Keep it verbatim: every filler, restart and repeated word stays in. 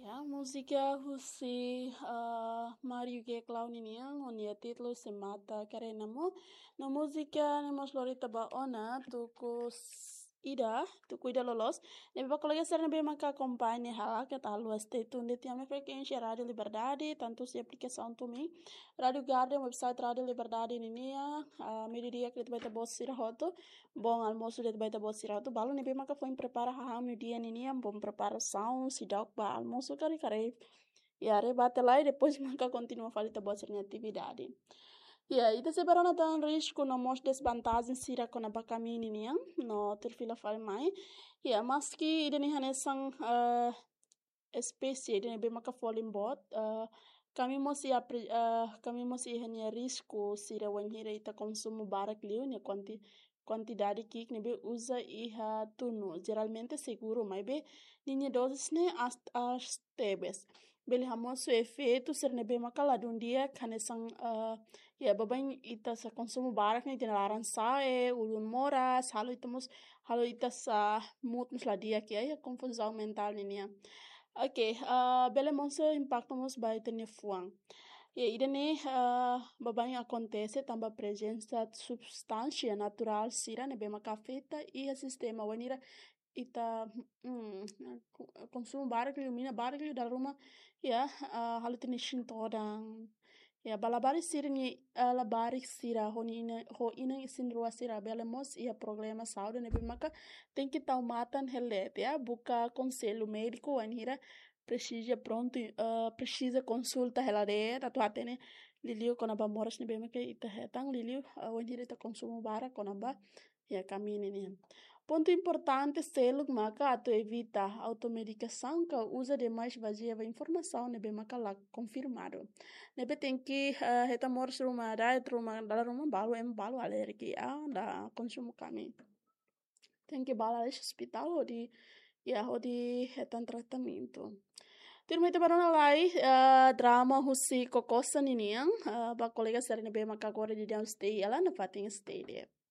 Ya, múzika husi, ah, Mario Geklau ninian, ho nia títulu Se Mata Karena Mo. No múzika ne'e mós lori ita ba ona tuku s-, ida, tuku ida loloos. Ne'ebé ba kolega sira ne'ebé maka akompaña hela, keta haluha stay tune de'it iha ami-nia frekuénsia Rádio Liberdade, tantu husi aplikasaun TuneIn, Rádio Garden, website Rádio Liberdade ninian, ah, meiudia di'ak de'it ba ita-boot sira hotu. Bom almoço de'it ba ita-boot sira hotu. Balu ne'ebé maka foin prepara hahán meiudia ninian, bom preparasaun, seidauk ba almoço, karik karik. Ya, rebate lai, depois maka kontinua fali ita-boot sira-nia atividade. Ya, ita sei bá rona tan risku no mós desvantajen sira kona-ba kamiñu ninian, no tuir fila fali mai. Ya, maski ida-ne'e hanesan, eh, espésie ida ne'ebé maka folin boot, eh, kamiñu mós iha pri-, eh, kamiñu mós iha nia risku sira wainhira ita konsumu barak liu nia kuanti-, kuantidade ki'ik ne'ebé uza iha tunu. Jeralmente seguru, maibé ninia doses ne'e aas, aas tebes. Bele hamosu efeitu sira ne'ebé maka ladún di'ak, hanesan, eh, ya, baibain ita sei konsumu barak ne'e, ita-nia laran sa'e, ulun moras, halo ita mós, halo ita sei mood mós la di'ak, ya, ya, konfuzaun mentál ninian. Oke, eh, bele mós impaktu mós ba ita-nia fuan. Ya, ida-ne'e, eh, baibain akontese tanba prezensa substánsia naturál sira ne'ebé maka afeta iha sistema, wainhira ita, mm, ko-, konsumu barak liu, mina barak liu dala ruma, ya, ah, halo ita-nia isin todan. Ya, ba labarik sira-ne'e, ah, labarik sira ho nia inan, ho inan isin-rua sira bele mós iha problema saúde ne'ebé maka tenke tau matan hela de'it, ya, buka konsellu médiku wainhira presiza prontu, eh, presiza konsulta hela de'it, atu hatene liuliu kona-ba moras ne'ebé maka ita hetan liuliu, eh, wainhira ita konsumu barak kona-ba, ya, kamiñu ninian. Pontu importante seluk maka atu evita automedikasaun ka uza demais bazeia ba informasaun ne'ebé maka la konfirmadu. Ne'ebé tenke, eh, hetan moras ruma, diet ruma, dala ruma balu, ema balu alérjiku, ah, la konsumu kamiñu. Tenke bá lalais ospitál hodi, ya, hodi hetan tratamentu. Tuirmai ita bá rona lai, eh, drama husi Kokosa ninian, eh, ba kolega sira ne'ebé maka agora daudaun stay hela, nafatin stay de'it.